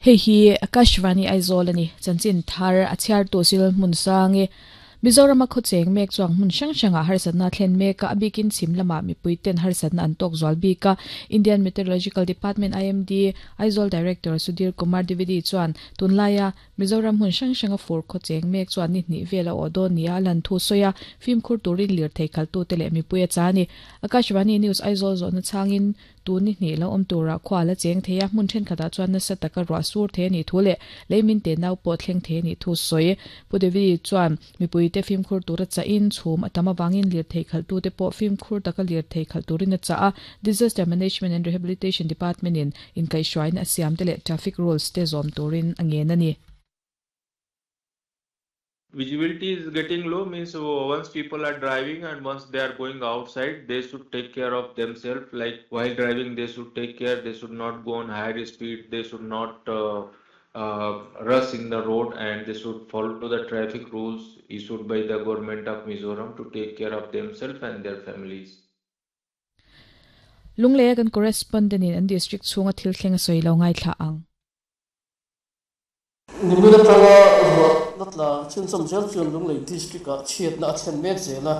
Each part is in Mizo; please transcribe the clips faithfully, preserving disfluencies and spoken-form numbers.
Hei hi Akashvani Aizawl ani chanchin thar a chhiar tu sil hmun sangi Mizoram a khawcheng mek chuang hmun hrang hrangah harsatna thlen mek a abikin chhim lama mipui ten harsatna an tawk zual bik a Indian Meteorological Department IMD Aizawl Director Sudhir Kumar Dwivedi chuan tunlaia Mizoram hmun hrang hranga fur khawcheng mek chuan ni hnih vel a awh dawn nia lan thu sawi a fimkhur turin lir thei khalh tu te leh mipui a cha ani Akashvani News Aizawl zawhna changin tu ni hnih lo awm tura khua la cheng thei a hmun thenkhatah chuan nasa taka ruah sur thei ani thu leh leimin te nau pawh thleng thei ani thu sawi Pu Dwivedi chuan mipui te fimkhur tura cha in chhum a tam awangin lir thei khalh tu te pawh fimkhur taka lir thei khalh turin a cha a Disaster Management and Rehabilitation Department in inkaihhruaina a siam te leh traffic rules te zawm turin a ngen ani. Visibility is getting low means once people are driving and once they are going outside they should take care of themselves like while driving they should take care they should not go on higher speed they should not uh, uh, rush in the road and they should follow the traffic rules issued by the government of Mizoram to take care of themselves and their families. Lungle kan correspondent in an district chhunga thil thleng a sawi lo ngai thla ang. Nimina tanga ruah natla chhunchawm zel chuan Lunglei district ah chhiatna a thlen mek zel a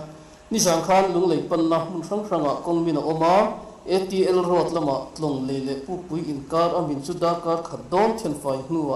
ni zang khan Lunglei panna hmun hrang hrangah kawng min a awm a ATL road lamah tlawng lei leh pukpui inkar a min chu darkar khat dawn then fai hnuah